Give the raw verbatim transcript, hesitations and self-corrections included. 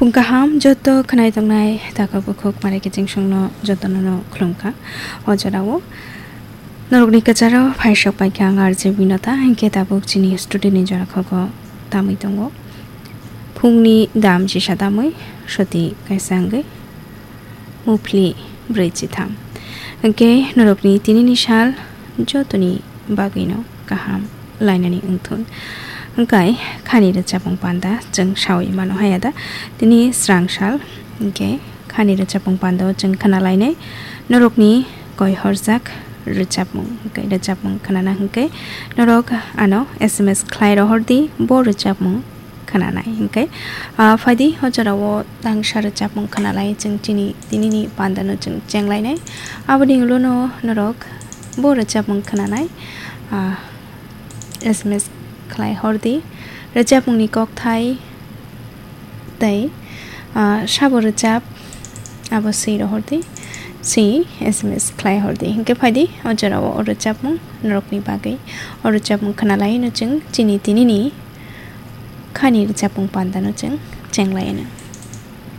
Phung kaham joto khwnai tongnai takhuk bukhuk mare kiching songno jotono no khulumkha. O jorao norokni kwcharo phaisok paikha ang R J Binota, hinkhe tabuk chini studio ni jora khogo tamwi tongo. Phungni dam chisa tamwi soti kaisa wngwi muphli brwi chitham. Hinkhe norokni tinini sal jotoni bagwino kaham lainani wngthun. Hinkhe khani rwchapmung panda chwng sawi mano haya da. Tini srang sal hinkhe khani rwchapmung pando chwng khna lainai. Norokni koi horjak rwchapmung, hinkhe rwchapmung khnana hinkhe norok ano S M S khlai rohordi bo rwchapmung khnanai hinkhe. Ah, phaidi o jorao tangsa rwchapmung khnalai chwng chini tinini pandano chwng chenglainai. Aboni ulono norok bo rwchapmung khnanai, ah, S M S khlai hordi. Rwchapmungni kokthai tei, ah, sabo rwchap abo swi rohordi, swi S M S khlai hordi. Hinkhe phaidi o jorao o rwchapmung norokni bagwi. O rwchapmung khnalaino chwng chini tinini khani rwchapmung pandano chwng chenglaino.